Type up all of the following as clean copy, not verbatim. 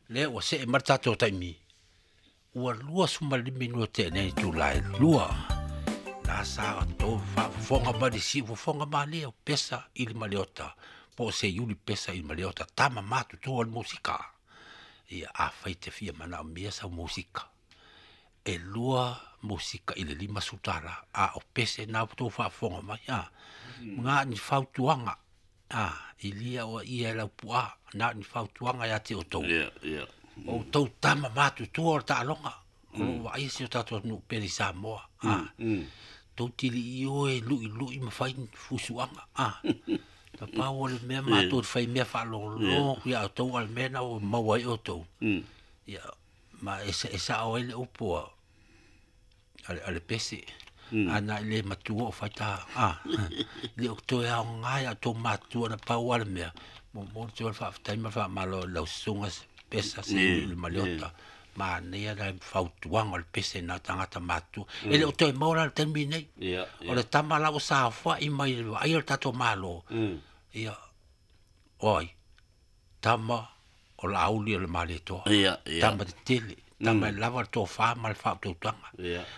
Lea ua see mai le tatou taimi, ua 25 minute tea nei itula e 2. Na sa outou faafofoga mai le siufofoga malie o Pesa i le Maliota, po o Seiuli Pesa i le Maliota, tama matutua o le musika. Ia, afai e te fia manaomia sau musika, e 2 musika i le $50, a o pese na ua outou faafofoga mai, a. Na o ni fautuaga, a, i lia o ia e Laupua, na o ni fautuaga ia te outou. O outou tama matutua o le taaloga, o lo o vaaia si o tatou atunuu pele i Samoa, a. Tou tilii o e luilui ma fai ni fusuaga, a. Na pau o le mea matou te fai mea faalogologo atu ia outou, a o le mea lena ua maua ai outou. Ia, ma e sao ai le upu a le Pese, ana e le matua o fai ta, a, le o toe aoga ia outou matutua, na pau lava le mea, momoli atu ai le faafetai ma le faamalo i lau susuga Pesa Seiuli i le Maliota. Manaia le fautuaga o le Pese na tagata matutua. E le o toe maua la le taimi lenei. O le tama la ua saofai mai i le vaaia o le tatou Malo, ia, o ai? Tama o Laauli o le Malietoa. Tama tetele, tama e lava le tofa ma le faautautaga.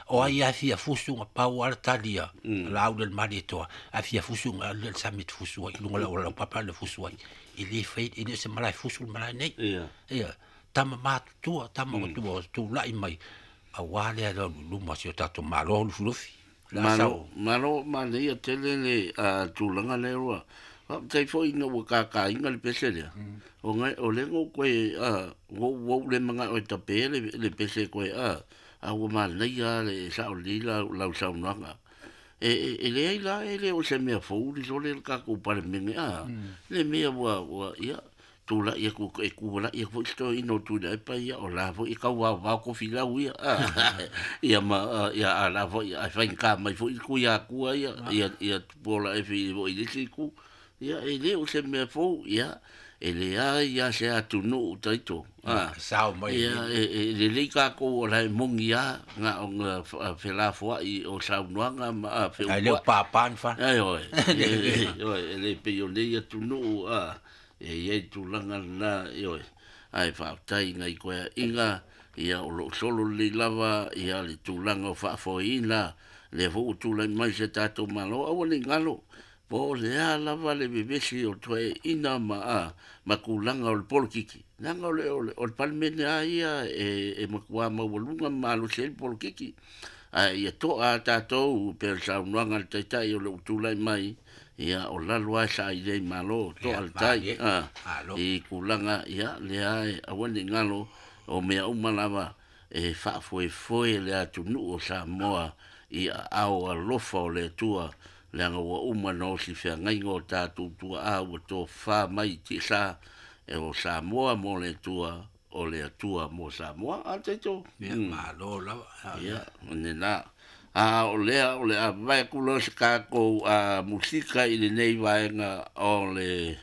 O ai lava e fia fusu, na pau lava le tali a Laauli o le Malietoa, a fia fusu na alu lea i le sami e te fusu ai, i luga o le auala laupapa le fusu ai. E le fai, e le o se malae fusu le malae nei. Ia, tama matutua, tama ua tulai mai, aua le alu i luma o si o tatou Malo Lufilufi. Malo, malo, manaia tele le tulaga lea ua. Faafetai foi ina ua kākāina le pese lea. O ngai o le no koe ua ua le mana'o e tape le pese koe a ua manaia le sao lelei lau saunoaga. E leai la e le o se mea fou le sole le tatou Palemene a. Le mea ua ia tulai atu e tualai atu foi se toeaina o Tuilaepa ia o la foi e tauvaovao tofilau ia. Ia ma ia a la foi ae faigata mai foi le Tuiatua ia ia Tupuola Efi foi i le isi itu. Ia e le o se mea fou ia e leai lava se atunuu taito. Sao mai. Ia e lelei tatou o la e moni lava na ona felafoai o saunoaga ma Ai le o papa ni fa. Ai oi. Oi e le pei o nei atunuu e iai tulaga lena ioe. Ae faafetai nai koeaiga ia o loo solo lelei lava ia le tulaga o faafoeina lea foi ua tulai mai se tatou Malo aua ne i galo po o le a lava le vevesi o toeaiina ma tulaga o le polokiki leaga o le Palemene a ia e matua maualuga ma malosi ai le polokiki ae ia to'a a tatou pe o le saunoaga a le Taitai o le ua tulai mai ia o lalo ae saili ai Malo to'a le tai i tulaga ia lea e aua ne i galo o mea uma lava e faafoefoe le atunuu o Samoa i aao alofa o le Atua leaga ua uma ona osi feagaiga o tatou tuaa ua tofa mai i tiasa e o Samoa mo le Atua o le Atua mo Samoa a taito. Ia malo lava. Ia lena a o lea o le avae atu loa se tatou musika i lenei vaega o le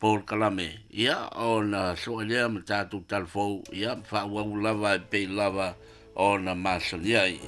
polokalame ia ona soe lea ma tatou talafou ia faaauau lava e pei lava ona masani ai.